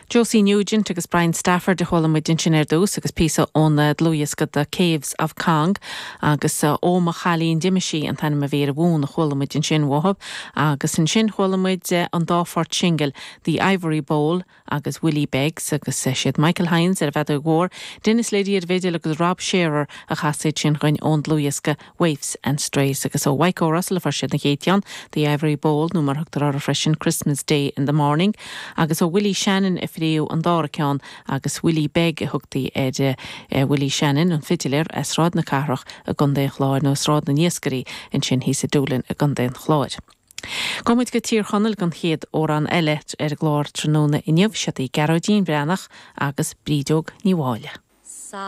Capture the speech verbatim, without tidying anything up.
Josie Nugent agus Brian Stafford a chuala muid ansin ar dtús agus píosa ón dlúthdhiosca The Caves of Cong agus Ó mo chailín d'imigh sí an t-ainm a bhí ar an bhfonn a chuala muid ansin uathu agus ansin chuala muid an dá phort singil The Ivory Bowl agus Willie Beggs agus siad Michael Hines ar an bhfeadóg mhór, Dennis Liddy ar an bhfidil agus Rob Shearer a chas iad sin dhúinn ón dlúthdhiosca Waifs and Strays agus ó Mhaidhc Russell a fuair siad an chéad cheann, The Ivory Bowl nó mar a thugtar air freisin Christmas Day in the Morning, agus ó Willie Shannon a fuaireadh an dara ceann agus Willie Beg a thugtaí ar uh, Willie Shannon an fidiléir as Sráid na Cathrach i gContae an Chláir nó Sráid na nIascairí ansin thíos i Doolin i gContae an Chláir. Gabhfaidh muid go Tír Chonaill don chéad amhrán eile ar an gclár tráthnóna inniu siad í Gearóidín Breathnach agus Brídeog Ní Mháille.